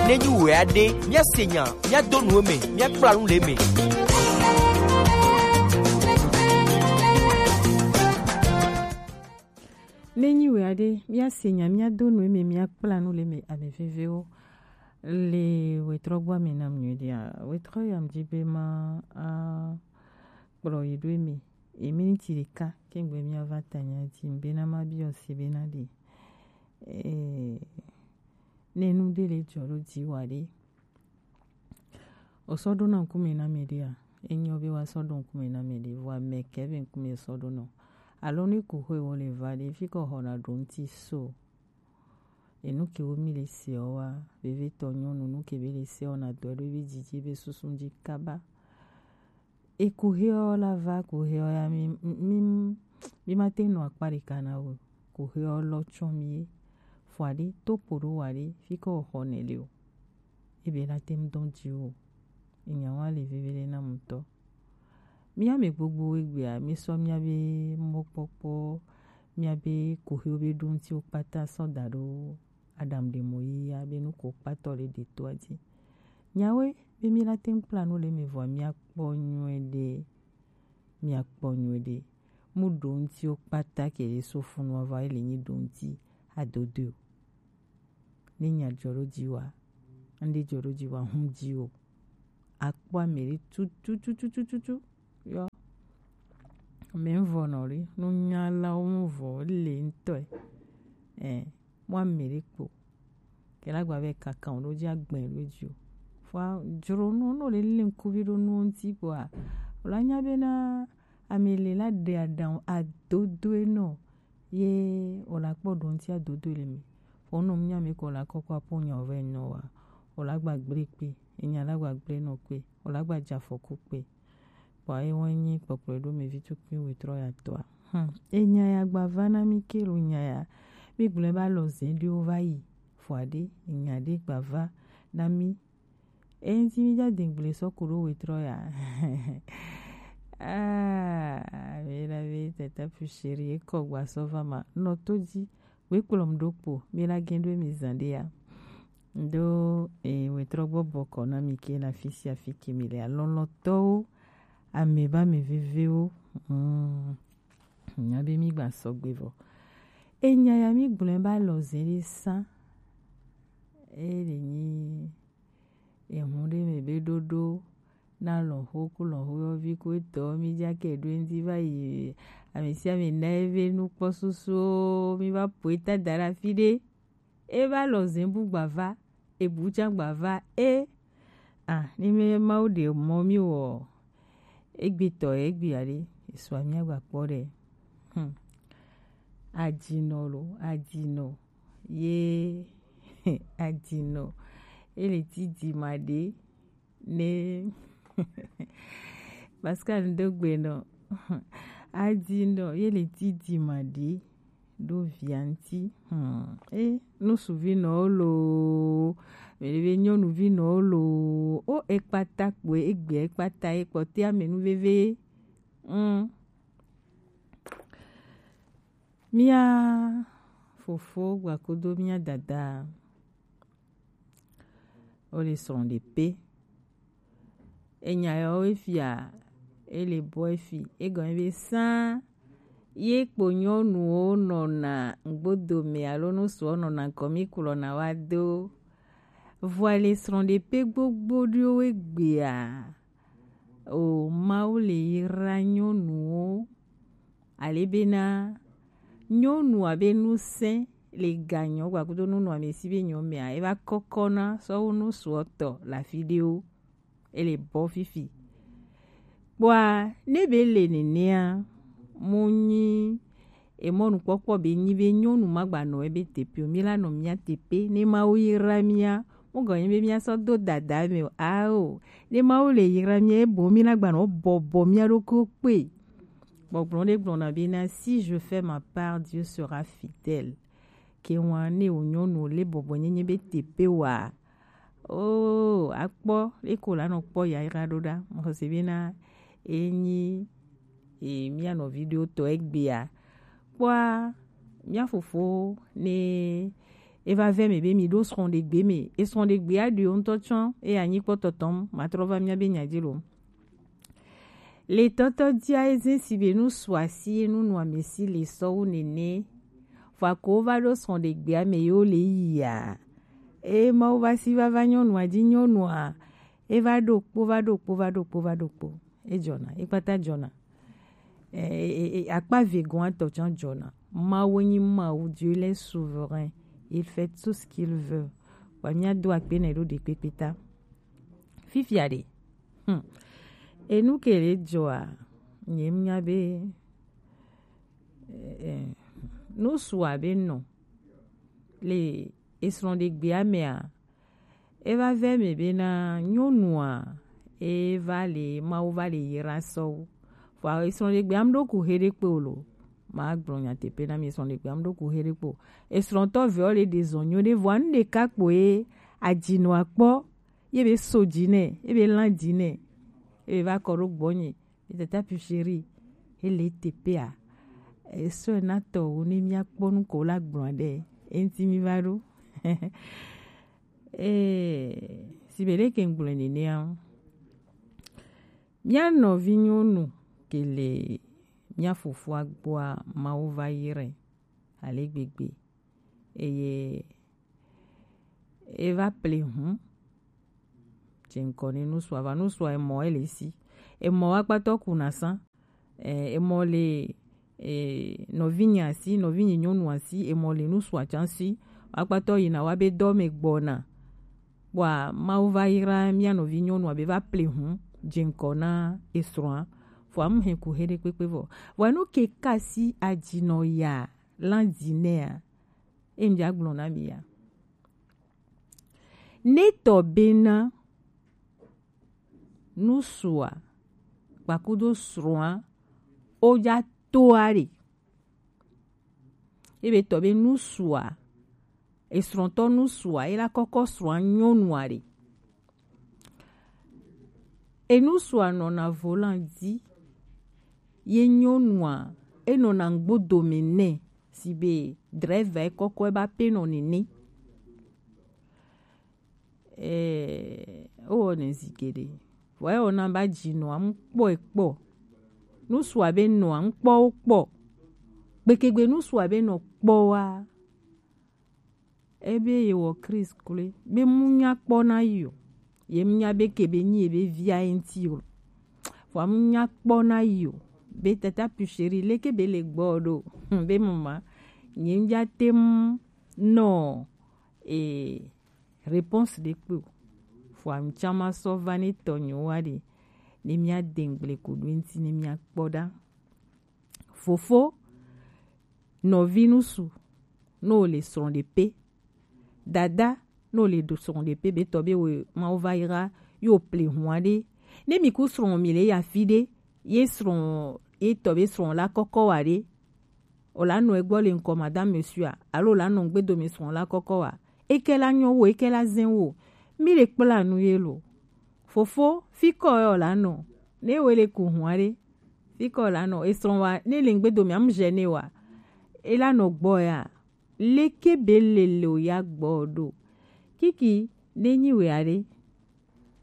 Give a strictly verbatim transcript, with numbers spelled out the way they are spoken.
Ne nyi wɛ aɖe, míase nya, míado nu eme, míakpla nu le eme. Ne nyi wɛ aɖe, míase nya, míado nu eme, míakpla nu le eme, ame vevewo. Le wetrɔ gbɔ ame nam nyuie ɖia, wetrɔ ya mdi be ma a kplɔ yi ɖo eme. E miniti ɖeka kengbe míava ta nya dzi, bena ma biɔ se bena ɖe. Eh, ne nu ɖe le dzɔ ɖo dzi wa ɖe, o sɔ ɖo na ŋkume na me ɖea? Enyo be wa sɔ ɖo ŋkume na me ɖe, vɔa me ke be ŋkume sɔ ɖo nɔ. Alo ne ku xwe wo le va ɖe, fi kɔ xɔ na ɖo ŋti so. Enu ke wo mi le se wa, veve tɔ nyɔnu, nu ke be le se wa na dɔ ɖo be dzidzi be susu dzi kaba. E kuxeɔ la va kuxeɔ ya mi mi mi ma te nɔ akpa ɖeka na o. Kuxeɔ lɔ tsɔ mi ye. Fɔ aɖe to ƒo ɖo wa ɖe fi kɔ xɔ nɛ le o. Ebe la te ŋu dɔn dzi o. Enya wa le veve ɖe na ŋutɔ. Mía me gbogbo egbea mi sɔ mía be mɔkpɔkpɔ, mía be kuxewo be ɖo ŋutiwo kpata sɔ da ɖo Adam ɖe mɔ yiya be nu ko kpatɔ le ɖe toa dzi. Nyawoe be mi la te ŋu kpla nu le eme vɔa míakpɔ nyuie ɖe, míakpɔ nyuie ɖe. Mu ɖo ŋutiwo kpata ke ɖe so funu ava ele nyi ɖo ŋuti adodoe o. Ne nya dzɔ ɖo dzi wa, ŋɖe dzɔ ɖo dzi wa, hu dzi o. Akpɔ ame ɖe tutututututu yɔ. Ame ŋvɔ nɔ ɖe, nunyalawo ŋvɔ le ŋutɔe. Ɛ, mɔ ame ɖe kpo. Kɛlɛ agba be kaka o ɖo dzi agbɛn ɖo dzi o. Fua dzro nu no le le ŋkuvi ɖo nu ŋti kpoa, o la nya be na ame le la ɖe aɖaŋu adodoe nɔ ye o la kpɔ ɖo ŋti adodoe le mi. Fo nɔ nya mi ko la kɔkɔ apo nya o vɛ nyɔ wa. O la gba gble kpe, enya la gba gble nɔ kpe, o la gba dza fɔku kpe. Kpɔ eye wɔn nyi kpɔkplɔ ɖo mi vi tukui wetrɔ ya tɔa. Hmm. Enya ya gba va na mi ke lo nya ya. Mi gblɔe ba lɔ zɛ ɖewo va yi. Fɔ aɖe, enya ɖe gba va na mi. Eyin ti mi ja dengble sɔ ku ɖo wetrɔ ya. Ah, mi la be tata pu chéri, ekɔ gba sɔ va ma. Nɔ to ji, we kplɔm ɖo kpo, mi la gen ɖo mi zan ɖe ya. Ndo e wetrɔ gbɔ bɔkɔ na mi ke na fisi afi ke mi le alɔlɔtɔwo, ame ba mi vevewo. Mm. Nya be mi gba sɔgbe vɔ. Enya ya mi gblɔe ba lɔ zɛ ɖe sa. E le nyi ehun ɖe me be ɖoɖo na lɔnxo ku lɔnxo yɔvi ku etɔ mi ja ke ɖo ŋdi va yi ame sia ame na eve nukpɔ susuwo mi va po eta da ɖe afi ɖe. E va lɔ zɛ bu gbava, e bu can gbava, e. Ah, ni me Mawu ɖe mɔ mi wɔ, egbe tɔ, egbe aɖe, esua mi agba kpɔ ɖe. Hmm. Adinɔ lo, adinɔ, ye, adinɔ, ele ti di ma ɖe, ne Pascal Ndogbe nɔ. Adi nɔ ye le ti di ma ɖi ɖo via ŋti. Hmm. E nusuvi nɔ wo lo. Mele be nyɔnuvi nɔ wo lo. O ekpata kpoe egbe ekpata ye kpɔte ame nu veve. Hmm. Mía fofo gbakudo mía dada. Wo le srɔ̃ɖeƒe. Enya yawo efia, ele bɔ efi, egɔme be sã ye kpo nyɔnuwo nɔna ŋgbodome alo nusuɔ nɔna ŋkɔ mi kplɔna wa do. Vɔa le srɔ̃ɖeƒe gbogbo ɖewo egbea, o Mawu le yra nyɔnuwo. Ale bena nyɔnua be ŋusẽ le ganyɔ gbakudo nunɔamesi be nyɔ mea, eva kɔkɔna sɔwu nusuɔtɔ le afi ɖewo. Ele bɔ fifi. Kpɔa, ne be le nenea, mo nyi emɔnukpɔkpɔ be nyi be nyɔnu magba nɔ ebe teƒe o, mi la nɔ mía teƒe, ne Mawu yra mía, Mugɔnye be míasɔ do dada me o. Ao, ne Mawu le yra mía, ebo mí na gbanɔ bɔbɔ mía ɖokuiwo kpe. Gbɔgblɔ ɖe gblɔna bena, si je fais ma part, Dieu sera fidèle. Ke ŋua ne wò nyɔnu le bɔbɔ nyenye be teƒe wa. Oh, akpɔ, eko la nɔ kpɔ yayra ɖo ɖa. Mɔxɔse bena, enyi e mía nɔvi ɖewo tɔ egbea. Kpɔa, mía fofo ne E va vɛ mɛ be mi ɖo srɔ̃ɖegbe mɛ. E srɔ̃ɖegbe a ɖi wo ŋutɔ tsɔ e anyi kpɔ tɔtɔm. Ma trɔ va mía be nya dzi lo. Le tɔtɔ dia e zɛn si be nu su asi e nu nu ame si le sɔwu nene. Vɔ ko va ɖo srɔ̃ɖegbea mɛ yo le yia. E Mawu va si va va nyɔnua dzi nyɔnua. E va ɖo kpo, va ɖo kpo, va ɖo kpo, va ɖo kpo. E jɔna, e kpata jɔna. E, e, e, akpa vegoatɔ tsã jɔna. Mawu nyi Mawu, Dieu le souverain. Il fait tout ce qu'il veut. Wa mía do akpe nɛ ɖo ɖekpekpe ta. Fifia ɖe. Hmm. Enu ke le jɔa, nye nya be eh, eh, nu sua be nɔ le esrɔ̃ɖegbea mea, e va vɛ mɛ bena nyɔnua e va le Mawu va le yra sɔwu. Vɔ esrɔ̃ɖegbea mu ɖo ku he ɖe kpe o lo. Ma gblɔ nyateƒe na mi, esrɔ̃ɖegbea mu ɖo ku he ɖe kpe o. Esrɔ̃tɔ vewo le ɖe zɔn nyo ɖe vɔ nu ɖeka kpo ye adzinɔa kpɔ ye be so dzi nɛ, ye be lan dzi nɛ, ye be va kɔ ɖo gbɔnye. Ye tata pu chéri, ele teƒea. Esɔe na tɔwo ne míakpɔ nu ko la gblɔ ɖe eŋuti mi va ɖo. Eh, si be ɖeke ŋgblɔe nenea, mía nɔvi nyɔnu ke le mía fofoa gbɔa, Mawu va yi ɖe ale gbegbe. Eye e va ple hu. Dze ŋkɔ ne nusua va nusua emɔ ele si. Emɔ wa kpatɔ kuna sa. Eh, emɔ le eh, nɔvinye asi, nɔvinye nyɔnu asi, emɔ le nusua tsã si. Wa kpatɔ yina wa be dɔ me gbɔna. Bua Mawu va yra mía nɔvi nyɔnua be va ple hu dze ŋkɔ na esrɔ̃a. Vɔa mu hɛn ku he ɖe kpekpe vɔ. Vɔa nu ke ka si adzinɔ ya lan dzi nɛa. Em dza gblɔ na mi ya. Ne tɔ bena nusua kpakudo srɔ̃a wodza toa ɖe. Ebe tɔ be nusua esrɔ̃tɔ nusua ela kɔkɔ srɔ̃a nyɔnua ɖe. Enusua nɔna volan dzi ye nyɔnua enɔna ŋgbodome nɛ si be drɛva ekɔkɔ eba penɔ nene. Eh, owɔ ne zi geɖe. Vɔ ewɔ na ba dzi nɔa ŋkpɔ ekpɔ. Nusua be nɔa ŋkpɔ wo kpɔ. Gbekegbe nusua be nɔ kpɔ wa. Ebe ye wɔ Christ kloe. Be mu nya kpɔ na yi o. Ye mu nya be ke be nyi ye be via ye ŋti o. Vɔ mu nya kpɔ na yi o. Be tata pu chéri leke be le gbɔ ɖo. Be mama. Nye ŋdza te mu nɔ e réponse ɖe kpe o. Vɔa ŋtsã ma sɔ va ne tɔnyewo wa ɖe ne mía de ŋgble ko ɖo eŋti ne mía kpɔ ɖa. Fofo, nɔvi nusu, ne wo le srɔ̃ɖeƒe. Dada, ne wo le ɖo srɔ̃ɖeƒe be tɔ be wo Mawu va yra ye wo ple hua ɖe. Ne mi ku srɔ̃ mi le ya fi ɖe, ye srɔ̃ ye tɔ be srɔ̃ la kɔkɔ wa ɖe. O la nɔ egbɔ le ŋkɔ madame monsieur a, alo o la nɔ ŋgbedome srɔ̃ la kɔkɔ wa. Eke la nyɔ wo, eke la zɛn wo. Mi le kpla nu ye lo. Fofo, fi kɔ ye o la nɔ. Ne wo le ku hua ɖe. Fi kɔ la nɔ. Esrɔ̃ wa, ne le ŋgbedome am gêné wa. E la nɔ gbɔ ya. Leke be le le o ya gbɔ ɖo. Kiki, ne nyi we aɖe.